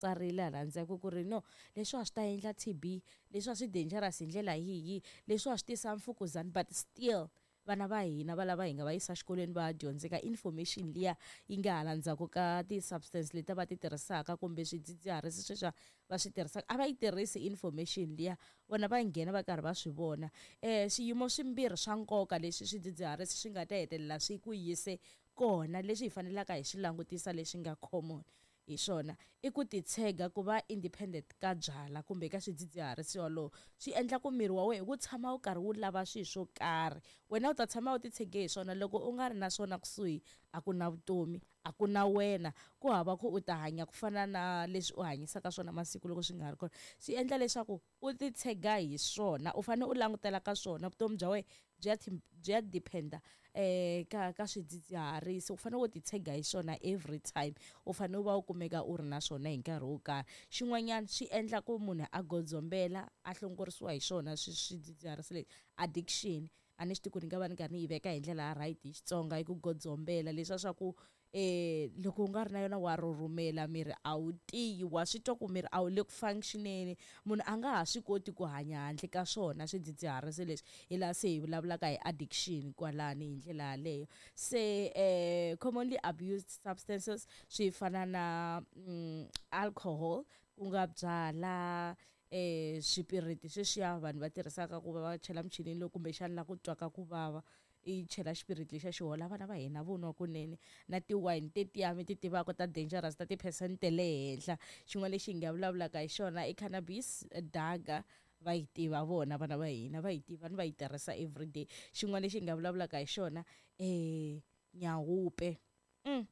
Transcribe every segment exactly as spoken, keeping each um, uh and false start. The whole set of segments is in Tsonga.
Tsarile hala ndzhaku ku ri no leswiwa swi ta endla T B, leswiwa swi dangerous hi ndlela yihi, leswiwa swi tisa mfukuzana, but still vana va hina va lava hi nga va yisa xikolweni va ya dyondzeka information liya yi nga hala ndzhaku ka ti-substance leti va ti tirhisaka kumbe swidzidziharisi sweswiya va swi tirhisaka, a va yi tirhisi information liya. Vona va nghena va karhi va swi vona. um swiyimo swimbirhi swa nkoka leswi swidzidziharisi swi nga ta hetelela swi ku yise kona, leswi hi fanelaka hi swi langutisa, leswi nga common hi swona i ku titshega, ku va independent ka byala kumbe ka swidzidziharisi. Wolowo swi endla ku miri wa wena wu tshama wu karhi wu lava swilo swo karhi. Wena u ta tshama u titshege hi swona. Loko u nga ri na swona kusuhi, a ku na vutomi, a ku na wena, ku hava ku u ta hanya ku fana na leswi u hanyisaka swona masiku. Loko swi nga ri kona, swi endla leswaku u titshega hi swona, u fanele u langutela ka swona, vutomi bya wena byi ya byi ya depend-a um ka ka swidzidziharisi. U fanele u titshega hi swona every time, u fanele u va u kumeka u ri na swona hi nkarhi wo karhi. Xin'wanyana swi endla ku munhu a godzombela, a hlongorisiwa hi swona swidzidziharisi leswi, addiction. A ni swi tivi ku ni nga va ni karhi ni yi veka hi ndlela ya right hi Xitsonga. I ku godzombela leswiya swa ku um loko u nga ri na yona wa rhurhumela, miri a wu tiyi, wa swi twa ku miri a wu le ku functioneni. Munhu a nga ha swi koti ku hanya handle ka swona swidzidziharisi leswi. Hi laha se hi vulavulaka hi addiction kwalani hi ndlela yaleyo. Se um commonly abused substances swi fana na mm, alcohol, ku nga byala, eh swipiriti sweswiya vanhu va tirhisaka ku va va chela michinini lowu kumbexana la ku twaka ku vava, i chela xipiriti lexiya xi hola. Vana va hina vo nwa kunene na ti-wine tetiya mi ti tivaka ta dangerous, ta ti-percent ta le henhla. Xin'wana lexi hi nga vulavulaka hi xona i cannabis, dagga, va yi tiva vona vana va hina, va yi tiva ni va yi tirhisa everyday. Xin'wana lexi hi nga vulavulaka hi xona, um nyawupe. mm.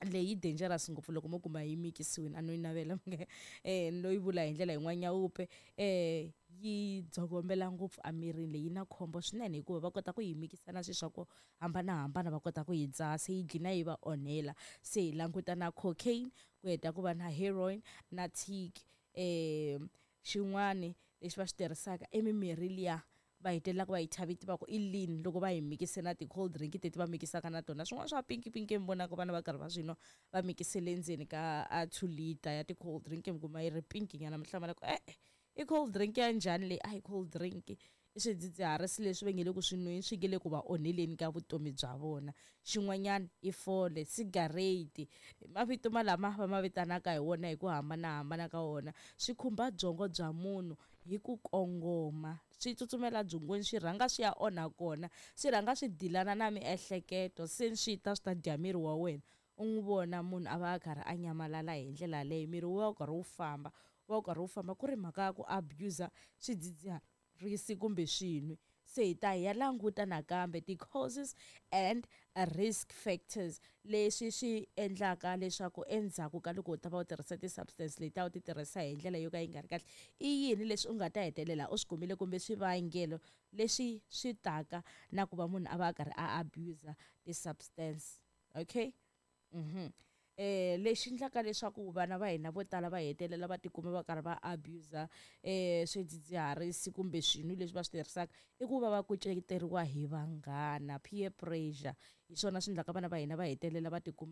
leyi dangerous ngopfu loko mo kuma yi mikisiwini, a no yi navela um no yi vula hi ndlela yin'wana. Nyawupe um yi dzokombela ngopfu emirini, leyi na khombo swinene hikuva va kota ku yi mikisa na swilo swa ku hambanahambana, va kota ku yi dzaha, se yi dlina yi va onhela. Se hi languta na cocaine, ku heta ku va na heroin na tik. um xin'wani lexi va xi tirhisaka i mimirhi liya va hetelelaka va yi thya vito va ku i lean, loko va yi mikise na ti-cold drink teti va mikisaka na tona swin'wana swa pinki pinki, mi vonaka vana va karhi va swi nwa, va mikisele ndzeni ka a two liter ya ti-cold drink, mi kuma yi ri pinki nyana, mi hlamala ku e-e, i cold drink ya njhani leyi? A hi cold drink, i swidzidziharisi leswi va nge le ku swi nweni, swi nge le ku va onheleni ka vutomi bya vona. Xin'wanyana i fole, cigarette, mavito malama va ma vitanaka hi wona hi ku hambanahambana ka wona, swi khumba byongo bya munhu hi ku kongoma, swi tsutsumela byongweni, swi rhanga swi ya onha kona, swi rhanga swi dilana na miehleketo, se swi ta swi ta dya miri wa wena. U n'wi vona munhu a va a karhi a nyamalala hi ndlela yaleyo, miri wu va wu karhi wu famba, wu va wu karhi wu famba, ku ri mhaka ya ku abuse swidzidziharisi kumbe swinwi. Se hi ta hi ya languta nakambe ti-causes and risk factors, leswi swi endlaka leswaku endzhaku ka loko u ta va u tirhisa ti-substance leti a wu ti tirhisa hi ndlela yo ka yi nga ri kahle, i yini leswi u nga ta hetelela u swi kumile kumbe swivangelo leswi swi taka na ku va munhu a va a karhi a abuse ti-substance. Okay, mhm eh lexi endlaka leswaku vana va hina vo tala va hetelela va tikuma va karhi va abuse eh swidzidziharisi kumbe swinwi leswi va swi tirhisaka i ku va va kuceteriwa hi vanghana, peer pressure. Hi swona swi endlaka vana va hina va hetelela va tikuma.